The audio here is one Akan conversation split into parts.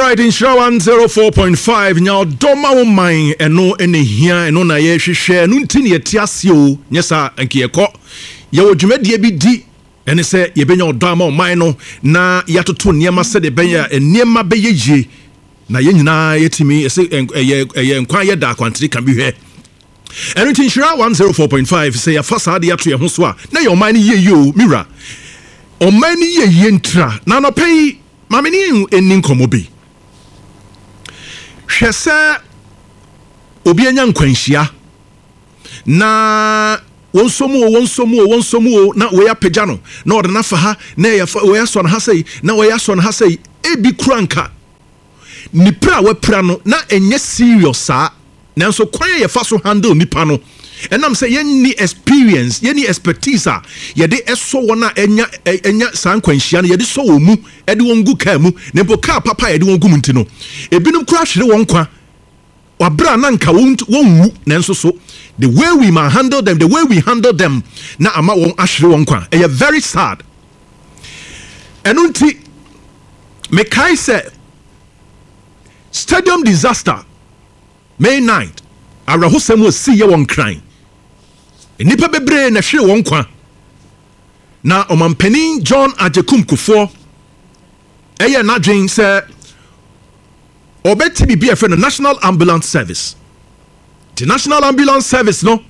Alright, Nhyira 104.5, nya ɔdɔ ma wo man, ɛno ɛna hia, ɛno na yɛhwehwɛ, ɛno nti na yɛte ase o, nyɛ saa nka yɛkɔ. Yɛwɔ dwumadie bi di, ɛne sɛ yɛbɛnya ɔdɔ ama ɔman no na yɛatoto nneɛma sɛdeɛ ɛbɛyɛ a nneɛma bɛyɛ yie na yɛn nyinaa yɛtumi ɛsɛ ɛyɛ nkwa yɛ da akwantere ka bi hwɛ. Ɛno nti Nhyira 104.5, sɛ yɛfa saa de ato yɛn ho so a, na yɛ ɔman no yie yie o, me wura. Ɔman no yie yie ntira na anɔpa yi maame ne ɛni nkɔmmɔ bi. Hwɛ sɛ obi anya nkwanhyia na wɔn nso mu o, wɔn nso mu o, wɔn nso mu o, na wei apagya no na ɔde no afa ha, na ɛyɛ wei asɔ no ha sɛyi, na wei asɔ no ha sɛyi. Ebi kura nka nipa a wapira no na ɛnyɛ serious saa, nanso kwan a yɛfa so handle nipa no, ɛnam sɛ yɛnni experience, yɛnni expertise a yɛde ɛsɔ wɔn a ɛnya saa nkwanhyia no, yɛde sɔ wɔn mu, ɛde wɔn gu kaa mu, na mpo kaa papa a yɛde wɔn gu mu nti no, ebinom kura hwere wɔn nkwa wabere na nka wɔn wu. Nanso so the way we ma handle them, the way we handle them na ama wɔn ahwere wɔn nkwa, ɛyɛ very sad. Ɛno nti mekae sɛ stadium disaster May 9, awerɛhosɛm a ɛsii yɛ wɔ Nkran, nnipa bebree na hwere wɔn nkwa, na ɔmampanin John Agyekum Kufuor ɛyɛ n'adwen sɛ ɔbɛte biribi a ɛfrɛ no National Ambulance Service. The National Ambulance Service no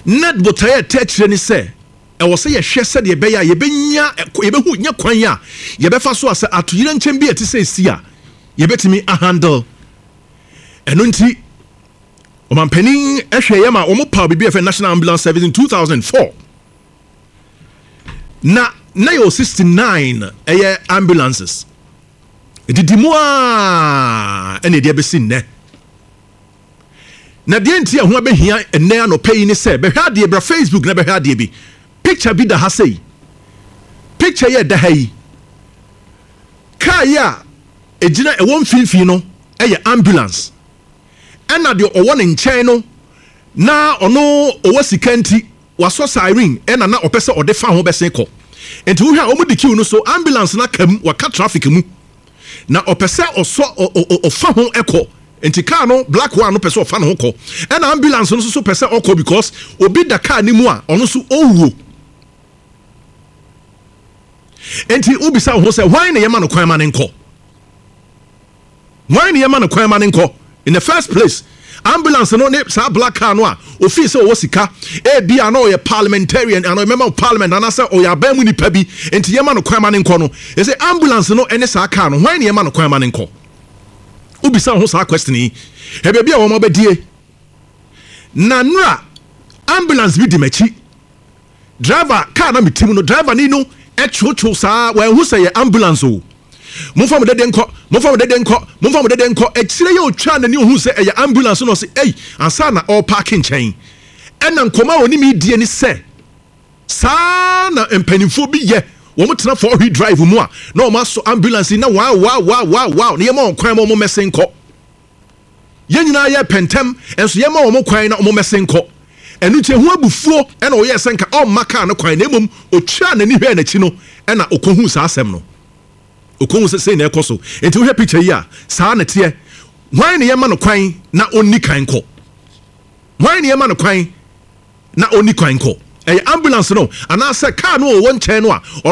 na botaeɛ ɛtɛ akyerɛ ne sɛ ɛwɔ sɛ yɛhwɛ sɛdeɛ ɛbɛyɛ a yɛbɛnya, yɛbɛhu nyɛ kwan a yɛbɛfa so a sɛ atoyerɛ nkyɛn bi a ɛte sɛ esi a yɛbɛtumi ahandle. Ɛno nti ɔmampanin ɛhwɛ yɛ ma wɔn paw biribi a yɛfrɛ National Ambulance Service in 2004, na yɛwɔ 69 ɛyɛ ambulances didi mu a ɛna ɛde abɛsi nnɛ. Na deɛ nti ɛho abɛhia ɛnnɛ anɔpa yi ne sɛ bɛhwɛ adeɛ, bra Facebook na bɛhwɛ adeɛ bi. Picture bi da ha sei, picture yɛ da ha yi, kaa yi a ɛgyina ɛwɔ mfimfini no ɛyɛ ambulance, ɛna deɛ ɔwɔ ne nkyɛn no na ɔno ɔwɔ sika nti wasɔ siren, ɛna na ɔpɛ sɛ ɔde fa ho bɛsen kɔ. Nti wohwɛ a wɔn di queue no so, ambulance na kam waka traffic mu na ɔpɛ sɛ ɔsɔ ɔfa ho ɛkɔ. Nti car no, black one no, pɛ sɛ ɔfa ne ho kɔ, ɛna ambulance no nso so pɛ sɛ ɔkɔ because obi da car ne mu a ɔno nso ɔwuo. Nti wobisa wo ho sɛ, hwan na yɛma no kwan ma ne nkɔ? Hwan na yɛma no kwan ma ne nkɔ in the first place? Ambulance no ne saa black car no a ofii sɛ ɔwɔ sika, ebi a na ɔyɛ parliamentarian ana ɔyɛ member of parliament anaasɛ ɔyɛ aban mu nipa bi nti yɛma no kwan ma ne nkɔ no, ɛsɛ ambulance no ne saa car no, hwan na yɛma no kwan ma ne nkɔ? Wobisa wo ho saa question yi. Ɛbaabi a wɔn abɛdie na nura ambulance bi di m'akyi, driver car na mi ti mu no, driver ni no ɛtwotwo saa, wɔn ho sɛ yɛ ambulance o. Momfa mo dede nkɔ, momfa mo dede nkɔ, momfa mo dede nkɔ. Akyire yɛ otwa n'ani ohun sɛ ɛyɛ ambulance no, ɔsɛ ɛyi ansa na ɔrepark nkyɛn. Ɛna nkɔmɔ a onim die ni sɛ saa na mpanimfoɔ bi yɛ, wɔn tena four wheel drive mu a na wɔn asɔ ambulance na wow wow wow wow wow, na yɛma wɔn kwan ma wɔn mɛsen nkɔ. Yɛn nyinaa yɛ pɛntɛm nso yɛma wɔn kwan na wɔn mɛsen nkɔ. Ɛno nti ehu abufuo ɛna ɔyɛ sɛ nka ɔmma kaa no kwan, na emom otwa n'ani hwɛ n'akyi no ɛna okohu saa asɛm no, okohu sɛ sei na ɛkɔ so. Nti wohwɛ picture yi a, saa na teɛ. Hwan na yɛma no kwan na ɔnni kan kɔ? Hwan na yɛma no kwan na ɔnni kwan kɔ? Ɛyɛ ambulance no anaasɛ car no a ɔwɔ nkyɛn no a?